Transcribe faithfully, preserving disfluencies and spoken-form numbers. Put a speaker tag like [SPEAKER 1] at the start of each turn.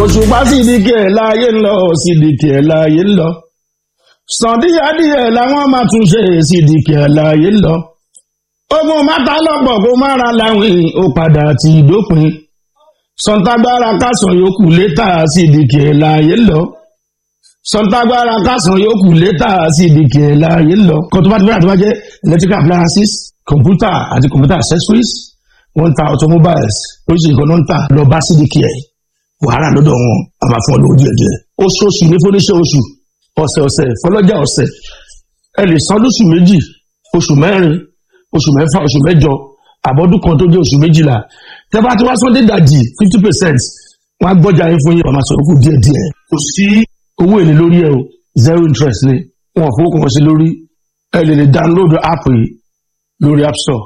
[SPEAKER 1] Òṣùpá Sídìkì ẹ̀ láàyè ń lọ, Sídìkì ẹ̀ láàyè ń lọ. Sàn díẹ̀díẹ̀ làwọn máa tún ṣe, Sídìkì ẹ̀ láàyè ń lọ. Ogun mátà lọ́pọ̀ kó má ra láwìn, ó padà ti dópin. Sọ̀ǹtàgbára kásán yòókù létà, Sídìkì ẹ̀ láàyè ń lọ. Sọ̀ǹtàgbára kásán yòókù létà, Sídìkì ẹ̀ láàyè ń lọ. Kó tó bá ti bẹ̀rẹ̀, àti bá jẹ́ electrical appliances, computer àti computer accessories, wọ́n ń ta automobiles, oríṣiríṣi nǹkan ló ń tà. Lọ bá Sídìkì ẹ̀, wàhálà lọ́dọ̀ wọn a máa fún ọ lówó díẹ̀ díẹ̀. Oṣooṣù ní fúnníṣẹ́ oṣù, ọ̀sẹ̀ ọ̀sẹ̀ fọlọ́jà ọ̀sẹ̀. Ẹ lè san lóṣù méjì, oṣù mẹ́rin, oṣù mẹ́fà, oṣù mẹ́jọ, àbọ̀dún kan tó jẹ́ oṣù méjìlá. Tẹ́ bá ti wá sọ́dé dàjì fifty percent, wọ́n á gbọ́jà yín fún yín, wọ́n máa sọ̀rọ̀ kù díẹ̀ díẹ̀. Kò sí owó èlé lórí ẹ o, zero interest ni. Wọn ò fowó kan sí lórí. Ẹ lè lè download app yìí lórí App Store.